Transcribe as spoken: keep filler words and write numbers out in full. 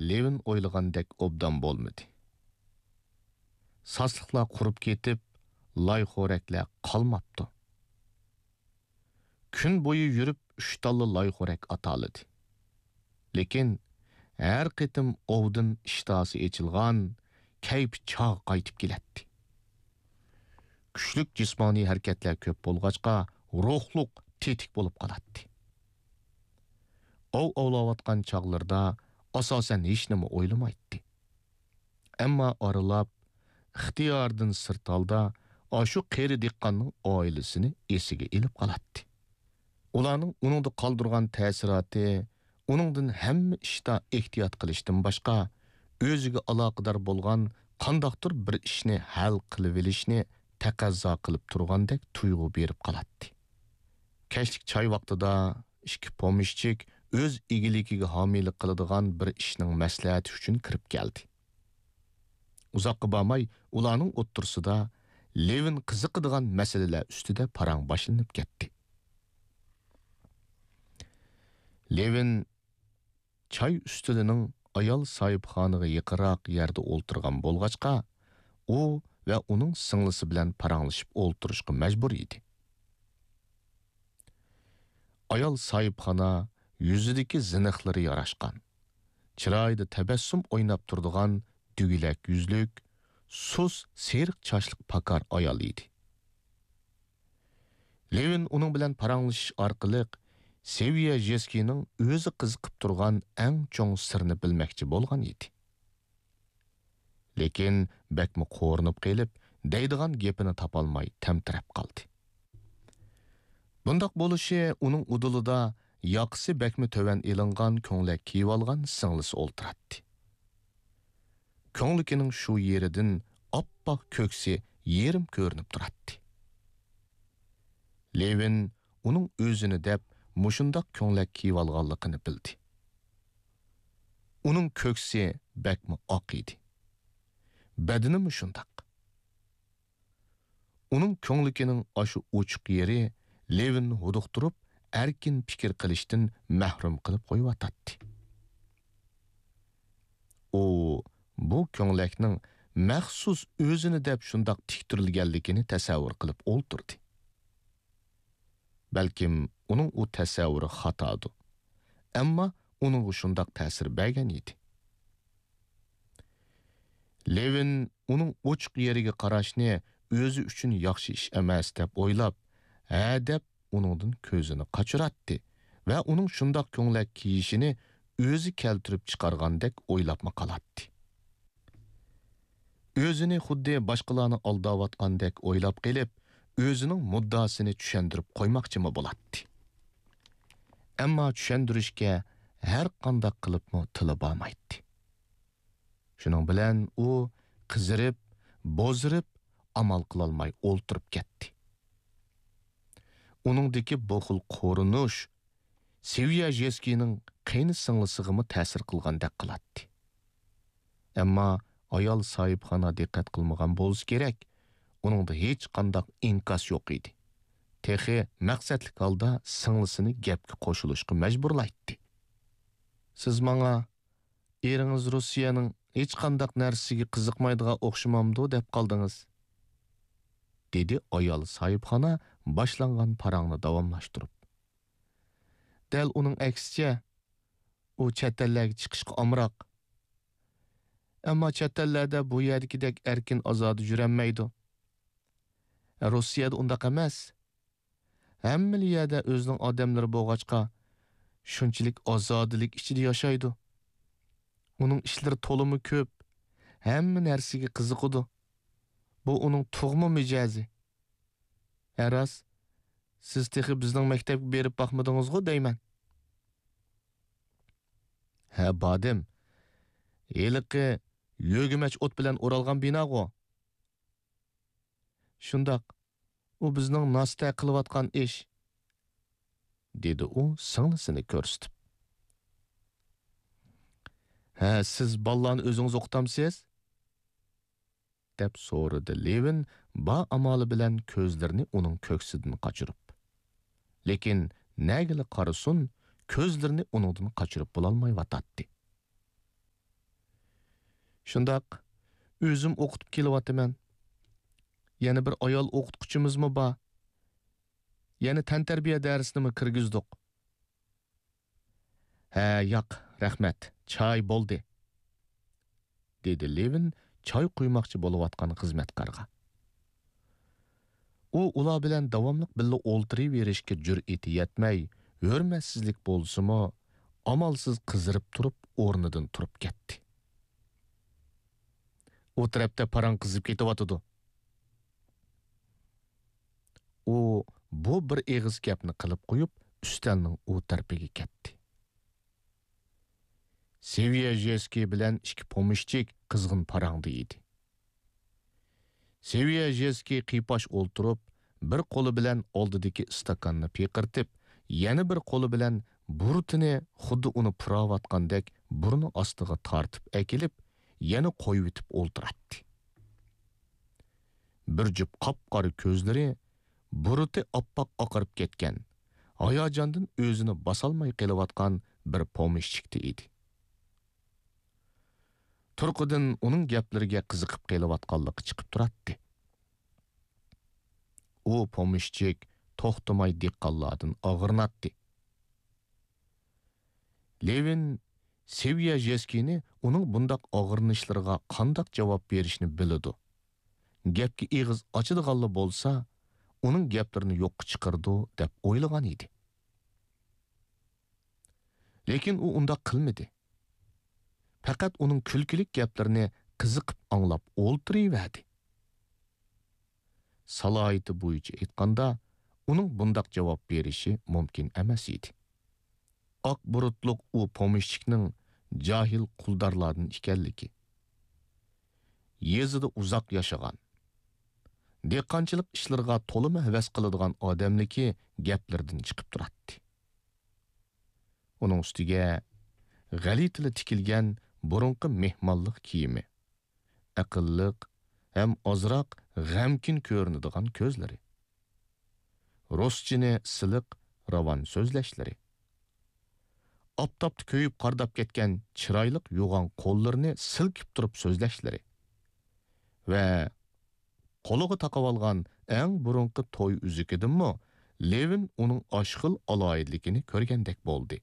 لېۋىن ئويلىغاندەك ئوبدان بولمىدى. ساسلىقلار قۇرۇپ كېتىپ، لايخورەكلەر قالماپتۇ. كۈن بويى يۈرۈپ ئۈچ تاللا لايخورەك ئاتالىدى. لېكىن ھەر قېتىم ئوۋدىن ئىشتىھاسى ئېچىلغان، كەيپى چاغ قايتىپ كېلەتتى. كۈچلۈك جىسمانىي ھەرىكەتلەر كۆپ بولغاچقا، روھلۇق تېتىك بولۇپ قالاتتى. ئوۋ ئوۋلاۋاتقان چاغلىرىدا ئاساسەن ھېچنېمە ئويلىمايتتى. ئەمما ئارىلاپ، ئىختىيارىدىن سىرت ھالدا ئاشۇ قېرى دېھقاننىڭ ئائىلىسىنى ئېسىگە ئېلىپ قالاتتى. ئۇلارنىڭ ئۇنىڭدا قالدۇرغان تەسىراتى ئۇنىڭدىن ھەممە ئىشتا ئېھتىيات قىلىشتىن باشقا، ئۆزىگە ئالاقىدار بولغان قانداقتۇر بىر ئىشنى ھەل قىلىۋېلىشنى تەقەززا قىلىپ تۇرغاندەك تۇيغۇ بېرىپ قالاتتى. كەچلىك چاي ۋاقتىدا ئىككى پومېشچىك ئۆز ئىگىلىكىگە ھامىيلىق قىلىدىغان بىر ئىشنىڭ مەسلىھەتى ئۈچۈن كىرىپ كەلدى. ئۇزاققا بارماي ئۇلارنىڭ ئوتتۇرىسىدا لېۋىن قىزىقىدىغان مەسىلىلەر ئۈستىدە پاراڭ باشلىنىپ كەتتى. لېۋىن چاي ئۈستىلىنىڭ ئايال ساھىبخانىغا يېقىنراق يەردە ئولتۇرغان بولغاچقا، ئۇ ۋە ئۇنىڭ سىڭلىسى بىلەن پاراڭلىشىپ ئولتۇرۇشقا مەجبۇر ئىدى. ئايال ساھىبخانا يۈزىدىكى زىنىخلىرى ياراشقان، چىرايىدا تەبەسسۇم ئويناپ تۇرىدىغان دۈگىلەك يۈزلۈك، سۇس سېرىق چاچلىق پاكار ئايال ئىدى. لېۋىن ئۇنىڭ بىلەن پاراڭلىشىش ئارقىلىق سېۋىيەژېسكىينىڭ ئۆزى قىزىقىپ تۇرغان ئەڭ چوڭ سىرنى بىلمەكچى بولغان ئىدى. لېكىن بەكمۇ قورۇنۇپ قېلىپ، دەيدىغان گېپىنى تاپالماي تەمتىرەپ قالدى. بۇنداق بولۇشى ئۇنىڭ ئۇدۇلىدا ياقىسى بەكمۇ تۆۋەن ئېلىنغان كۆڭلەك كىيىۋالغان سىڭلىسى ئولتۇراتتى. كۆڭلىكىنىڭ شۇ يېرىدىن ئاپئاق كۆكسى يېرىم كۆرۈنۈپ تۇراتتى. لېۋىن ئۇنىڭ ئۆزىنى دەپ مۇشۇنداق كۆڭلەك كىيىۋالغانلىقىنى بىلدى. ئۇنىڭ كۆكسى بەكمۇ ئاق ئىدى. بەدىنىمۇ شۇنداق. ئۇنىڭ كۆڭلىكىنىڭ ئاشۇ ئوچۇق يېرى لېۋىننى ھودۇقتۇرۇپ، ئەركىن پىكىر قىلىشتىن مەھرۇم قىلىپ قويۇۋاتاتتى. ئۇ بۇ كۆڭلەكنىڭ مەخسۇس ئۆزىنى دەپ شۇنداق تىكتۈرۈلگەنلىكىنى تەسەۋۋۇر قىلىپ ئولتۇردى. بەلكىم ئۇنىڭ ئۇ تەسەۋۋۇرى خاتادۇ. ئەمما ئۇنىڭغا شۇنداق تەسىر بەرگەن ئىدى. لېۋىن ئۇنىڭ ئوچۇق يېرىگە قاراشنى ئۆزى ئۈچۈن ياخشى ئىش ئەمەس دەپ ئويلاپ، ھە دەپ ئۇنىڭدىن كۆزىنى قاچۇراتتى ۋە ئۇنىڭ شۇنداق كۆڭلەك كىيىشىنى ئۆزى كەلتۈرۈپ چىقارغاندەك ئويلاپمۇ قالاتتى. ئۆزىنى خۇددى باشقىلارنى ئالداۋاتقاندەك ئويلاپ قېلىپ، ئۆزىنىڭ مۇددىئاسىنى چۈشەندۈرۈپ قويماقچىمۇ بولاتتى. ئەمما چۈشەندۈرۈشكە ھەر قانداق قىلىپمۇ تىلى بارمايتتى. شۇنىڭ بىلەن ئۇ قىزىرىپ، بوزىرىپ، ئامال قىلالماي ئولتۇرۇپ كەتتى. ئۇنىڭدىكى بۇ خىل قورۇنۇش سېۋياژېسكىينىڭ قېينى سىڭلىسىغىمۇ تەسىر قىلغاندەك قىلاتتى. ئەمما ئايال ساھىبخانا دىققەت قىلمىغان بولسا كېرەك، ئۇنىڭدا ھېچقانداق ئىنكاس يوق ئىدى. تېخى مەقسەتلىك ھالدا سىڭلىسىنى گەپكە قوشۇلۇشقا مەجبۇرلايتتى. «سىز ماڭا، ئېرىڭىز روسىيەنىڭ ھېچقانداق نەرسىسىگە قىزىقمايدىغان ئوخشىمامدۇ دەپ قالدىڭىز؟» دېدى ئايال ساھىبخانا باشلانغان پاراڭنى داۋاملاشتۇرۇپ. «دەل ئۇنىڭ ئەكسىچە، ئۇ چەت ئەللەرگە چىقىشقا ئامراق. ئەمما چەت ئەللەردە بۇ يەردىكىدەك ئەركىن ئازادە يۈرەلمەيدۇ. روسىيەدە ئۇنداق ئەمەس. ھەممىلا يەردە ئۆزىنىڭ ئادەملىرى بولغاچقا، شۇنچىلىك ئازادىلىك ئىچىدە ياشايدۇ. ئۇنىڭ ئىشلىرى تولىمۇ كۆپ، ھەممە نەرسىگە قىزىقىدۇ. بۇ ئۇنىڭ تۇغما مىجەزى.» «ھە راست، سىز تېخى بىزنىڭ مەكتەپكە بېرىپ باقمىدىڭىزغۇ دەيمەن.» «ھە، باردىم. ھېلىقى يۆگىمەچ ئوت بىلەن ئورالغان بىناغۇ؟» «شۇنداق، ئۇ بىزنىڭ ناسىتە قىلىۋاتقان ئىش.» دېدى ئۇ سىڭلىسىنى كۆرسىتىپ. «ھە، سىز بالىلارنى ئۆزىڭىز ئوقۇتامسىز؟» دەپ سورىدى لېۋىن بار ئامالى بىلەن كۆزلىرىنى ئۇنىڭ كۆكسىدىن قاچۇرۇپ. لېكىن نەگىلا قارىسۇن، كۆزلىرىنى ئۇنىڭدىن قاچۇرۇپ بولالمايۋاتاتتى. شۇنداق، ئۆزۈم ئوقۇتۇپ كېلىۋاتىمەن. يەنە بىر ئايال ئوقۇتقۇچىمىزمۇ بار. يەنە تەنتەربىيە دەرسىنىمۇ كىرگۈزدۇق. ھە، ياق، رەھمەت، چاي بولدى، دېدى لېۋىن چاي قۇيماقچى بولۇۋاتقان خىزمەتكارغا. ئۇ ئۇلار بىلەن داۋاملىق بىللە ئولتۇرۇۋېرىشكە جۈرئىتى يەتمەي، ھۆرمەتسىزلىك بولسىمۇ، ئامالسىز قىزىرىپ تۇرۇپ ئورنىدىن تۇرۇپ كەتتى. ئۇ تەرەپتە پاراڭ قىزىپ كېتىۋاتىدۇ. ئۇ بۇ بىر ئېغىز گەپنى قىلىپ قويۇپ، ئۈستەلنىڭ ئۇ تەرىپىگە كەتتى. سېۋيەژېسكىي بىلەن ئىككى پومېشچىك قىزغىن پاراڭدا ئىدى. سېۋيەژېسكىي قىيپاش ئولتۇرۇپ، بىر قولى بىلەن ئالدىدىكى ئىستاكاننى پىقىرتىپ، يەنە بىر قولى بىلەن بۇرۇتىنى خۇددى ئۇنى پۇراۋاتقاندەك بۇرنى ئاستىغا تارتىپ ئەكېلىپ، يەنە قويۇۋېتىپ ئولتۇراتتى. بىر جۈپ قاپقارا كۆزلىرى بۇرۇتى ئاپئاق ئاقىرىپ كەتكەن، ھاياجاندىن ئۆزىنى باسالماي قېلىۋاتقان بىر پومېشچىكتا ئىدى. تۇرقىدىن ئۇنىڭ گەپلىرىگە قىزىقىپ قېلىۋاتقانلىقى چىقىپ تۇراتتى. ئۇ پومېشچىك توختىماي دېھقانلاردىن ئاغرىناتتى. لېۋىن سېۋيەژېسكىينى ئۇنىڭ بۇنداق ئاغرىنىشلىرىغا قانداق جاۋاب بېرىشنى بىلىدۇ. گەپكە ئېغىز ئاچىدىغانلا بولسا، ئۇنىڭ گەپلىرىنى يوققا چىقىرىدۇ، دەپ ئويلىغان ئىدى. لېكىن ئۇ ئۇنداق قىلمىدى. پەقەت ئۇنىڭ كۈلكىلىك گەپلىرىنى قىزىقىپ ئاڭلاپ ئولتۇرۇۋەردى. سالاھىيىتى بويىچە ئېيتقاندا، ئۇنىڭ بۇنداق جاۋاب بېرىشى مۇمكىن ئەمەس ئىدى. ئاق بۇرۇتلۇق ئۇ پومېشچىكنىڭ جاھىل قۇلدارلاردىن ئىكەنلىكى، يېزىدا ئۇزاق ياشىغان، دېھقانچىلىق ئىشلىرىغا تولىمۇ ھەۋەس قىلىدىغان ئادەملىكى گەپلىرىدىن چىقىپ تۇراتتى. ئۇنىڭ ئۈستىگە غەلىتىلا تىكىلگەن بۇرۇنقى مېھمانلىق كىيىمى، ئەقىللىق ھەم ئازراق غەمكىن كۆرۈنىدىغان كۆزلىرى، رۇسچىنى سىلىق، راۋان سۆزلەشلىرى، ئاپتاپتا كۆيۈپ قارىداپ كەتكەن چىرايلىق يوغان قوللىرىنى سىلكىپ تۇرۇپ سۆزلەشلىرى ۋە قولىغا تاقىۋالغان ئەڭ بۇرۇنقى توي ئۈزۈكىدىنمۇ لېۋىن ئۇنىڭ ئاشۇ خىل ئالاھىدىلىكىنى كۆرگەندەك بولدى.